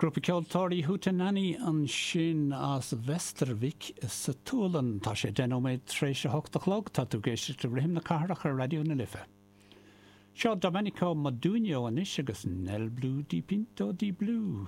Grúpa ceoltóirí Hootenanny ansin as Västervik sa tSualainn. Tá sé 10 nóiméad tar éis a hocht a chlog. Tá tú ag éisteacht le Rithim na Cathrach ar Raidió na Life. Seo Domenico Modugno anois agus Nel Blu Dipinto di Blu.